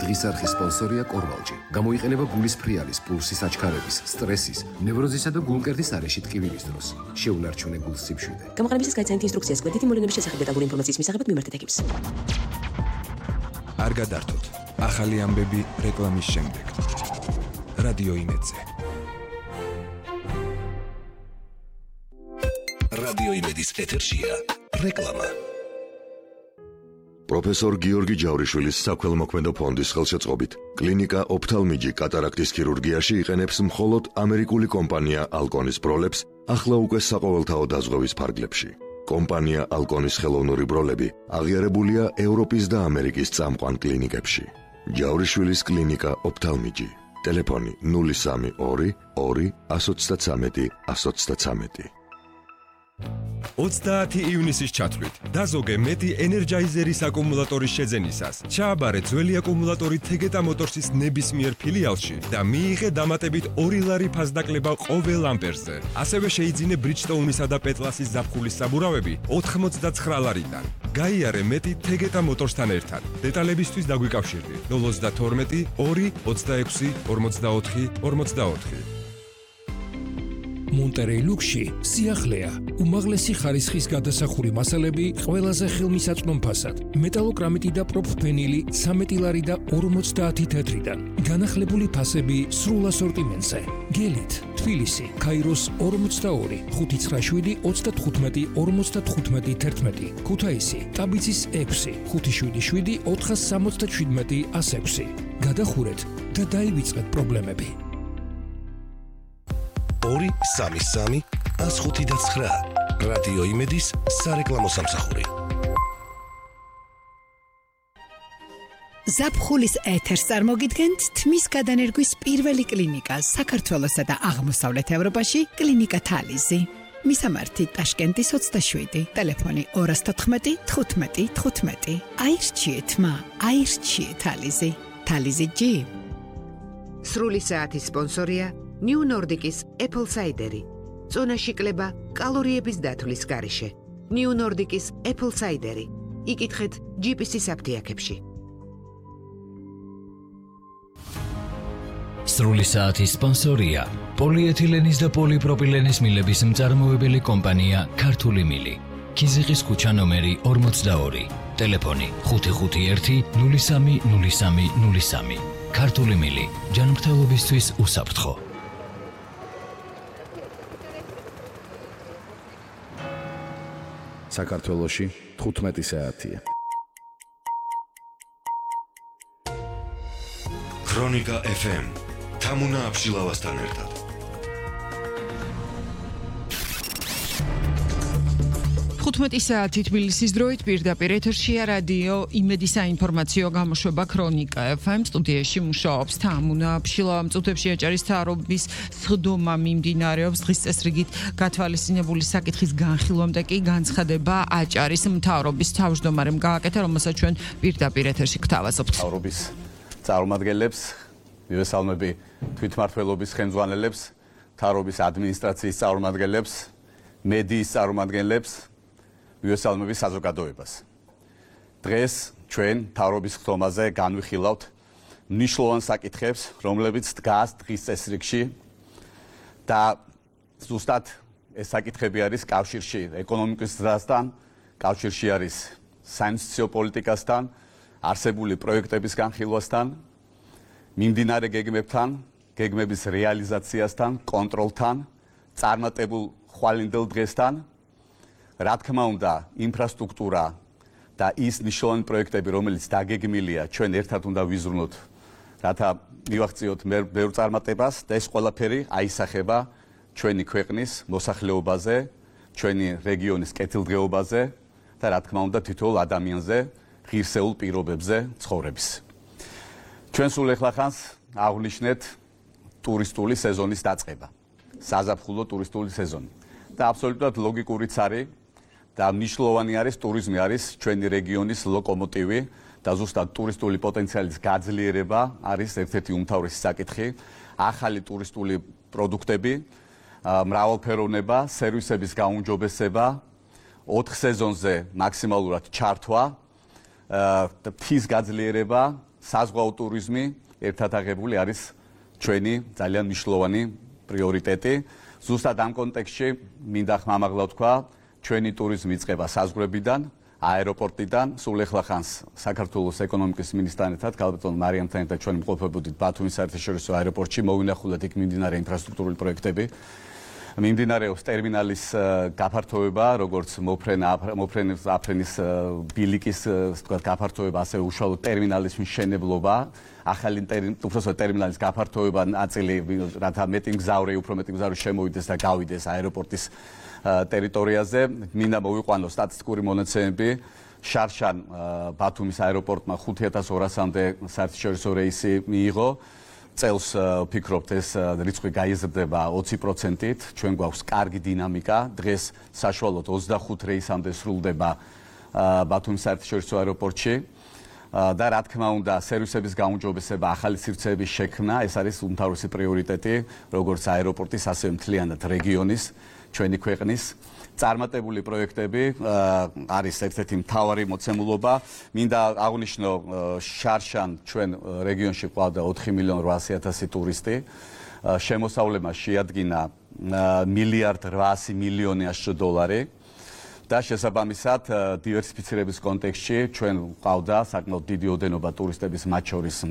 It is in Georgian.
დღის არხის სპონსორია კორვალჯი. გამოიყენება გულის ფრიალის, პულსის აჩქარების, სტრესის, ნევროზისა და გულმკერდის არეში ტკივილის დროს. შეუნარჩუნე გულს სიმშვიდე. გამოყენებისას გაიცანით ინსტრუქციას კვეთითი მოვლენების შესახებ დეტალური ინფორმაციის მისაღებად მიმართეთ ეკიპს. არ გადართოთ. ახალი ამბები რეკლამის შემდეგ. რადიო იმედზე. რადიო იმედის ეთერშია რეკლამა. პროფესორ გიორგი ჯავრიშვილის საქველმოქმედო ფონდის ხელშეწყობით კლინიკა ოფთალმიჯი კატარაქტის ქირურგიაში იყენებს მხოლოდ ამერიკული კომპანია ალკონის ბროლებს ახლა უკვე საყოველთაო დაზღვევის ფარგლებში. კომპანია ალკონის ხელოვნური ბროლები აღიარებულია ევროპის და ამერიკის წამყვან კლინიკებში. ჯავრიშვილის კლინიკა ოფთალმიჯი. ტელეფონი 032 2 133 133. 30 ივნისის ჩათვლით დაზოგე მეტი ენერჯაიზერის აკუმულატორის შეძენისას. ჩააბარე ძველი აკუმულატორი თეგეტა მოტორსის ნებისმიერ ფილიალში და მიიღე დამატებით 2 ლარი ფასდაკლება ყოველ ამპერზე. ასევე შეიძინე ბრიჯსტოუნისა და პეტლასის ზაფხულის საბურავები 89 ლარიდან. გაიარე მეტი თეგეტა მოტორსთან ერთად. დეტალებისთვის დაგვიკავშირდი 032 2 26 44 44. მონტერეი ლუქსში სიახლეა, უმაღლესი ხარისხის გადასახური მასალები ყველაზე ხელმისაწვდომ ფასად. მეტალოკრამიტი და პროფფენილი 13 ლარი და 50 თეთრიდან. განახლებული ფასები სრულ ასორტიმენტზე. გელით, თბილისი, ქაიროს 42, 597 35 55 11, ქუთაისი, ტაბიცის 6, 577 467 106. გადახურეთ და დაივიწყეთ პრობლემები. 233 159 რადიო იმედის სარეკლამო სამსახური. ზაფხულის ეთერს წარმოგიდგენთ თმის გადანერგვის პირველი კლინიკა საქართველოსა და აღმოსავლეთ ევროპაში კლინიკა თალიზი. მისამართი ტაშკენტის 27, ტელეფონი 214 15 15. აირჩიეთ მა, აირჩიეთ თალიზი. თალიზი G. სრული საათის სპონსორია New Nordic-ის Apple Cider-ი. წონაში კლება კალორიების დათვლის გარეშე. New Nordic-ის Apple Cider-ი. იკითხეთ GPS-ის აფთიაქებში. სრული საათის სპონსორია პოლიეთილენის და პოლიპროპილენის მილების მწარმოებელი კომპანია ქართული მილი. ქიზიყის ქუჩა ნომერი 42, ტელეფონი 551 03 03 03. ქართული მილი, ჯანმრთელობისთვის უსაფრთხო. საქართველოში 15 საათია. ქრონიკა FM თამუნა აბშილავასთან ერთად. საათი თბილისის დროით პირდაპირ ეთერშია რადიო იმედის საინფორმაციო გამოშვება ქრონიკა FM. სტუდიაში მუშაობს თამუნა აბშილავა. მწუთებში აჭარის მთავრობის სხდომა მიმდინარეობს. დღის წესრიგით გათვალისწინებული საკითხის განხილვამდე კი განცხადება აჭარის მთავრობის თავმჯდომარემ გააკეთა, რომელსაც ჩვენ პირდაპირ ეთერში გთავაზობთ. მთავრობის წარმომადგენლებს, მივესალმები თვითმმართველობის ხელმძღვანელებს, მთავრობის ადმინისტრაციის წარმომადგენლებს, მედიის წარმომადგენლებს, მივესალმები საზოგადოებას. დღეს ჩვენ მთავრობის ხდომაზე განვიხილავთ მნიშვნელოვან საკითხებს, რომლებიც დგას დღის წესრიგში და ზუსტად ეს საკითხები არის კავშირში ეკონომიკის ზრდასთან, კავშირში არის საინვესტიციო პოლიტიკასთან, არსებული პროექტების განხილვასთან, მიმდინარე გეგმებთან, გეგმების რეალიზაციასთან, კონტროლთან, წარმატებულ ხვალინდელ დღესთან. რა თქმა უნდა, ინფრასტრუქტურა და ის მნიშვნელოვანი პროექტები, რომელიც დაგეგმილია, ჩვენ ერთად უნდა ვიზრუნოთ, რათა მივაღწიოთ ბევრ წარმატებას და ეს ყველაფერი აისახება ჩვენი ქვეყნის მოსახლეობაზე, ჩვენი რეგიონის კეთილდღეობაზე და რა თქმა უნდა, თითოეულ ადამიანზე, ღირსეულ პირობებზე ცხოვრების. ჩვენ სულ ეხლახანს აღვნიშნეთ ტურისტული სეზონის დაწყება, საზაფხულო ტურისტული სეზონი. და აბსოლუტურად ლოგიკურიც არის და მნიშვნელოვანი არის ტურიზმი არის ჩვენი რეგიონის ლოკომოტივი და ზუსტად ტურისტული პოტენციალის გაძლიერება არის ერთ-ერთი უმთავრესი საკითხი. ახალი ტურისტული პროდუქტები, მრავალფეროვნება, სერვისების გაუმჯობესება, 4 სეზონზე მაქსიმალურად ჩართვა, ფის გაძლიერება საზღვაო ტურიზმი ერთად აღებული არის ჩვენი ძალიან მნიშვნელოვანი პრიორიტეტი. ზუსტად ამ კონტექსტში მინდა ხმამაღლა ვთქვა, ჩვენი ტურიზმი იწყება საზღვრებიდან, აეროპორტიდან, სულ ეხლა ხანს საქართველოს ეკონომიკის მინისტრთან ერთად, ქალბატონ მარიამთან ერთად ჩვენ მყოფებოდით ბათუმის საერთაშორისო აეროპორტში, მოვინახულეთ იქ მიმდინარე ინფრასტრუქტურული პროექტები. მიმდინარეობს ტერმინალის გაფართოება, როგორც აფრენის ბილიკის თქვა გაფართოება, ასევე უშუალოდ ტერმინალის მშენებლობა, ახალი ტერმინალის გაფართოება ნაწილი, რათა მეტი მგზავრი, უფრო მეტი მგზავრი შემოვიდეს და გავიდეს აეროპორტის ტერიტორიაზე. მინდა მოვიყვანო სტატისტიკური მონაცემები. შარშან ბათუმის აეროპორტმა 5200-მდე საერთაშორისო რეისი მიიღო. წელს ვფიქრობთ ეს რიცხვი გაიზრდება 20%-ით, ჩვენ გვაქვს კარგი დინამიკა. დღეს საშუალოდ 25 რეისამდე სრულდება ბათუმის საერთაშორისო აეროპორტში. და რა თქმა უნდა, სერვისების გაუმჯობესება, ახალი სივრცეების შექმნა, ეს არის უმთავრესი პრიორიტეტი, როგორც აეროპორტის, ასევე მთლიანად რეგიონის, ჩვენი ქვეყნის. წარმატებული პროექტები არის ერთ-ერთი მთავარი მოცემულობა. მინდა აღვნიშნო, შარშან ჩვენ რეგიონში ყავდა 4.800.000 ტურისტი. შემოსავლება შეადგინა $1.8 მილიარდი და შესაბამისად დივერსიფიცირების კონტექსტში ჩვენ ყავდა საკმაოდ დიდი ოდენობა ტურისტების, მათ შორის